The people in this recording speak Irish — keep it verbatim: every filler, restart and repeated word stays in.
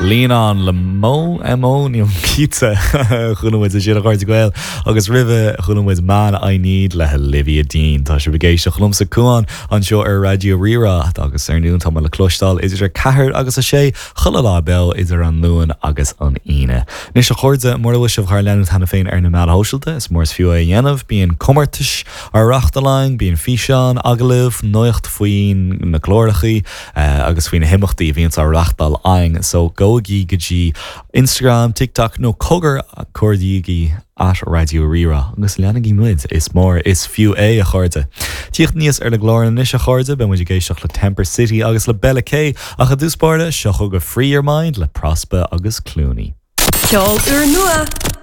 Lean On le Mo MO ní cinnte chuala muid sin a chairde Gael agus roimhe chuala muid Man I Need le Olivia Dean Tá sibh ag éisteacht liomsa Cuan anseo ar Raidió Rí-Rá agus ar ndóigh tá le cloisteáil idir ceathair agus a sé chuile lá beo idir an Luan agus an Aoine. Anois a chairde mura bhfuil sibh ár leanúint cheana féin ar na meáin shóisialta is mór is fiú é a dhéanamh, bíonn comórtais á reáchtáil againn, bíonn físeáin, agallaimh, nuacht faoi na cláracha uh, agus faoi na himeachtaí a bhíonn á reáchtáil againn, so gabhaigí go dtí Instagram, TikTok nó cogar cuardaígí at Raidió Rí-Rá agus leanaigí muid is mór is fiú é a chairde. Tíocht níos ar le glór anois a chairde beidh muid ag éisteacht le Temper City agus le Bella K ach i dtús báire seo chugaibh Free Your Mind le Prospa agus Clooney. Ceol úrnua.